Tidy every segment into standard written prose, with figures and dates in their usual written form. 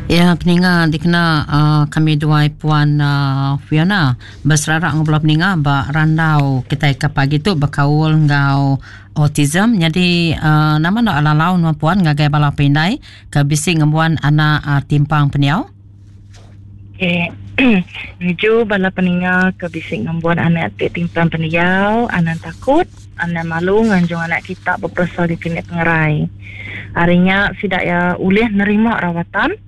Ya peninga dikena uh, kami duai puan uh, Fiona beserara enggau bala peninga ba randau kitai ke pagi tu bekaul enggau autism. Nyadi uh, nama enda lalau nuan puan ngagai bala pindai ke bisi ngembuan anak uh, timpang pendiau? Okay. Nuju bala peninga ke bisi ngembuan anak ti timpang pendiau, anang takut, anang malu nganjung anak kita beperesa di klinik pengerai. Ari nya sida iya ulih nerima rawatan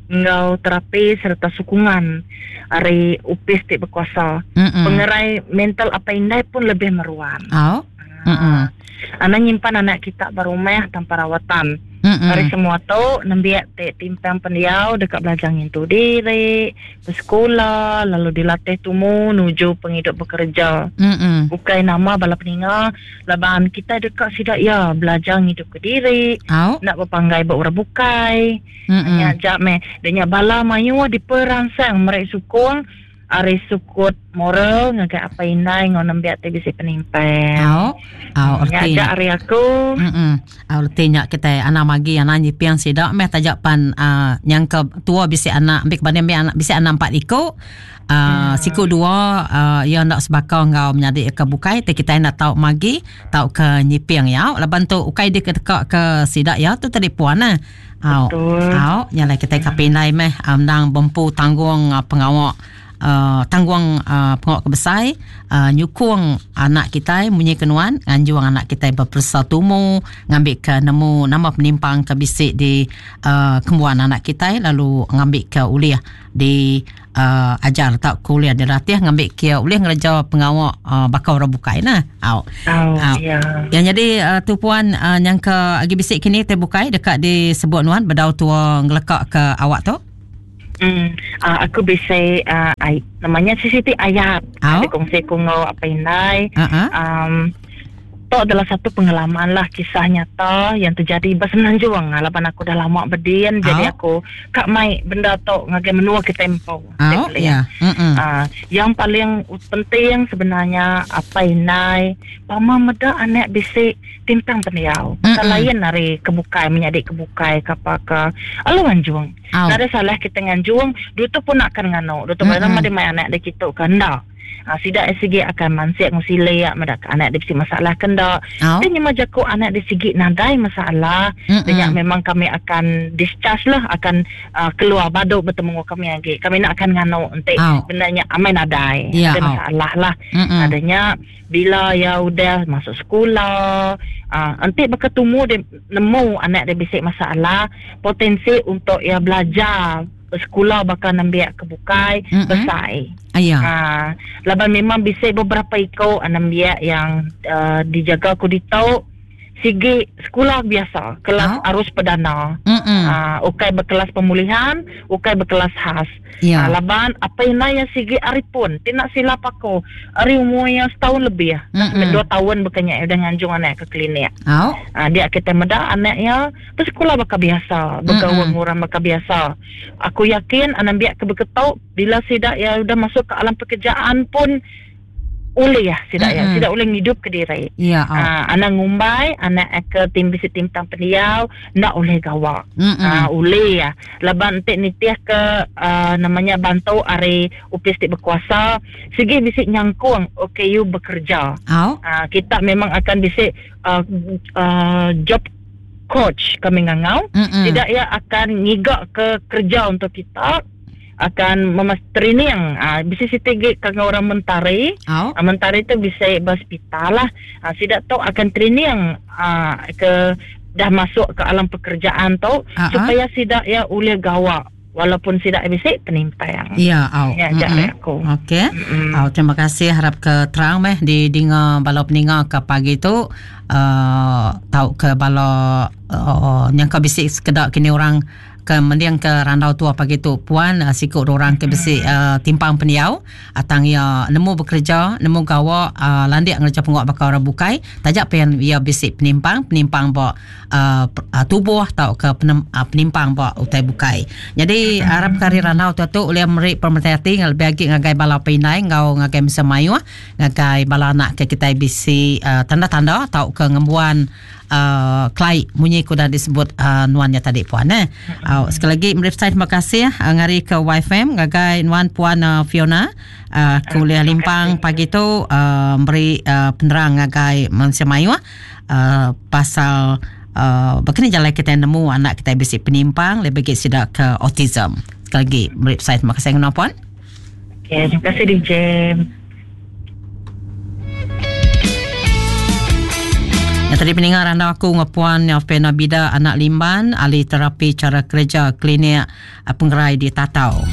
enggau terapi sereta sukungan ari opis ti bekuasa. Mm-mm. Pengerai mental apai indai pun lebih meruan. Oh. Mm-mm. Anang nyimpan anak kita ba rumah tanpa rawatan. Mm-mm. Ari semua tu, nembiak ti timpang pendiau deka belajar ngintu diri, besekula lalu dilatih tumu nuju pengidup bekereja. Mm-mm. Ukai nama bala peninga laban kitai deka sida iya belajar ngidupka diri, Au. enda bepanggai ba orang bukai. Mm-mm. Nya aja meh. Da nya bala mayuh diperansang meri sukung ari sukut moral ngagai apai indai enggau nembiak ti bisi penimpang. Au. Au Nya reti. aja ari aku. Mm. Au reti nya kitai anang magi anang nyiping sida meh taja pan uh, nyangka tua bisi anak ambi ke banding ambi anak bisi anak empat iku. Uh, siku dua uh, iya enda sebaka enggau menyadi ke bukai ti kitai enda tau magi tauka nyiping iya laban tu ukai dikedeka ke sida iya tu tadi puan eh. Au. Betul. Au, nya alai kitai ka pindai meh endang bempu tanggung pengawa uh, tanggung uh, pengawa ke besai uh, nyukung anak kitai munyi ke nuan nganjung anak kitai beperesa tumu ngambika nemu nama penimpang ke bisi di uh, kembuan anak kitai lalu ngambika ulih di uh, ajar tauka ulih dilatih ngambika iya ulih ngereja pengawa uh, baka orang bukai nah. Au. Au, Au. ya. Yang jadi uh, tu puan uh, nyangka agi bisi kini te bukai deka disebut nuan bedau tua ngeleka ke awak tu. Hmm, uh, aku bisi uh, ay, namanya CCT ayat. Au. Ada kongsi ku enggau apai indai. Uh-huh. Um, tu adalah satu pengalaman lah kisah nyata yang terjadi ba Semenanjung. Ah, laban aku dah lama bedin Au. jadi aku ka mai benda tu ngagai menua kita empu. Au, ya. Mm-mm. Ah, yang paling penting sebenarnya apai indai pama meda anak bisi timpang pendiau. Mm-mm. Lain ari kebukai menyadi kebukai ke apa ke alu anjung. Au. Nadai salah kita nganjung, dutu pun akan nganu. Dutu mm-hmm. nama dia mai anak dia kitu ke enda. Ha, sida sigi akan mansik enggau silik meda ke anak dia bisi masalah ke enda. Au. Ti nyema jaku anak dia sigi nadai masalah, Mm-mm. dia nya memang kami akan discharge lah, akan uh, keluar badu betemu enggau kami agi. Kami nak akan nganu enti Au. benda nya amai nadai. Ya, Nadai au. masalah lah. Mm-mm. Ada nya bila ia udah masuk sekolah, uh, enti baka tumu dia nemu anak dia bisi masalah, potensi untuk ia belajar besekula baka nembiak ke bukai Mm-mm. besai. Aya. Ha, laban memang bisi beberapa iko nembiak yang uh, dijaga ku ditu sigi sekolah biasa, kelas Oh. arus perdana. Mm-mm. Uh, ukai berkelas pemulihan, ukai berkelas khas. Ya. Uh, laban apa yang yang sigi ari pun, ti nak silap aku, ari umur yang setahun lebih. Mm-mm. 2 tahun bukannya udah nganjung anak ke klinik. Au. Uh, dia kita meda anaknya bersekolah baka biasa, bergaul Mm-mm. orang baka biasa. Aku yakin anak biak ke beketok bila sidak ya udah masuk ke alam pekerjaan pun boleh ya sidak ya, Mm-mm. sidak boleh ngidup ke diri. Ya, au. Anak ngumbai, anak ke tim bisi tim tang pendiau, nak oleh gawak. Mm-mm. Oleh ya. Laban entik nitih ke namanya bantu ari upis ti berkuasa, sigi bisi nyangkung OKU bekerja. Au. Kita memang akan bisi job coach kami ngangau. Mm-mm. Tidak ia akan ngigak ke kerja untuk kita, akan memas training. Bisi siti gi ke orang mentari. Au. Mentari tu bisa berhospital lah. Sidak tu akan training ke dah masuk ke alam pekerjaan tu Ah, ah. supaya sidak ia boleh gawak walaupun sidak bisi penimpang. Ya, au. Ya, jak Mm-mm. aku. Okey. Mm-mm. Au, terima kasih harap ke terang meh di dinga bala peninga ke pagi tu tau ke bala nyangka bisi sekeda kini orang ke mending ke randau tua pagi tu puan siku orang ke bisi timpang pendiau atang ia nemu bekerja nemu gawa landik ngerja penguat bakal orang bukai tajak pen ia bisi penimpang penimpang ba tubuh tau ke penimpang ba utai bukai. Jadi harap kari randau tua tu oleh meri pemerhati ngan lebih agi ngagai bala pindai ngau ngagai mesa mayuh ngagai bala anak ke kita bisi tanda-tanda tau ke ngembuan uh, kelai munyi ku udah disebut uh, nuan nya tadi puan eh. Uh, sekali lagi meri besai terima kasih uh, ngari ke YFM ngagai nuan puan uh, Fiona uh, ke ulih limpang pagi tu uh, meri uh, penerang ngagai mensia mayuh uh, pasal uh, baka ni jalai kitai nemu anak kitai bisi penimpang lebih agi sida ke autism. Sekali lagi meri besai terima kasih ngagai nuan puan. Okay, terima kasih DJ. Yang tadi peninga randau aku enggau Puan Fiona Bida anak Limban ahli terapi cara kereja klinik eh, pengerai di Tatau.